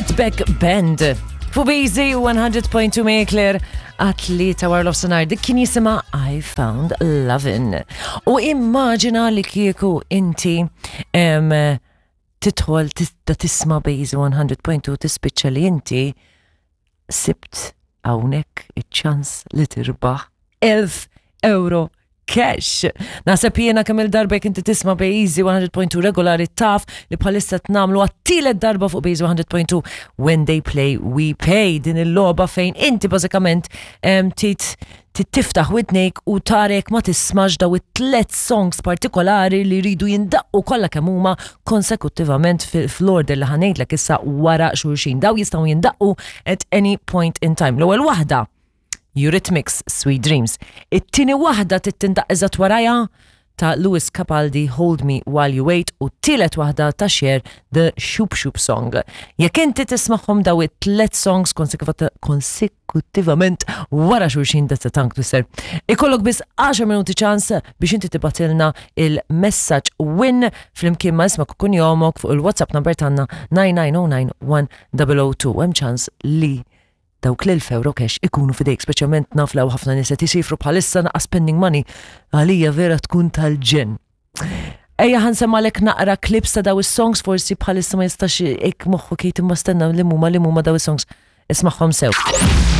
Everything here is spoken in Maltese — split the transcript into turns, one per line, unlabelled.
Fatback Band. Fuq Easy 100.2 Mekler għat-tlieta wara l-ofsenar dik kien jisima I Found Lovin'. U immaġina li kieku inti tidħol tista' tisma' Bejzi 100.2 tispiċċa li inti sibt hawnhekk iċ-ċans li tirbaħ 1000 euro cash. Naħseb jiena kemm il-darba jekk inti tisma' Bejzi 100.2 regolari taf li bħalissa tnamlu għat-tielet darba fuq Bejzi 100.2 When They Play We Pay din il-logħba fejn inti bażikament tit tiftaħ widnejk u tarek ma tismax daw it-tlet songs partikolari li jridu jindaqqu kollha kemm huma konsekuttivament fl-order li ħanejdlek issa wara xulxin. Daw jistgħu jindaqqu at any point in time. L-ewwel waħda Eurythmics Sweet Dreams. It-tieni waħda tindaq eżatt warajha ta' Lewis Capaldi Hold Me While You Wait u t-tielet waħda ta' Cher The Shoop Shoop Song. Jekk inti tismagħhom daw it-tlet songs konsekuttivament wara xulxin that's a tongue twister. Ikollok biss 10 minuti ċans biex inti tibatilna il-messaġġ win flimkien ma' ismek u kunjomok fuq il-WhatsApp number tagħna 9909 1002. Hemm ċans li dawk l-1000 euro cash ikunu fidejk, speċjalment naf law ħafna nies qed isifru bħalissa naqa' spending money għalija vera tkun tal-ġenn. Ejja ħa nsemmalek naqra clips ta' daw is-songs forsi bħalissa ma jistax ik moħħu kejt imma stenna li huma li huma daw is-songs. Ismagħhom sew.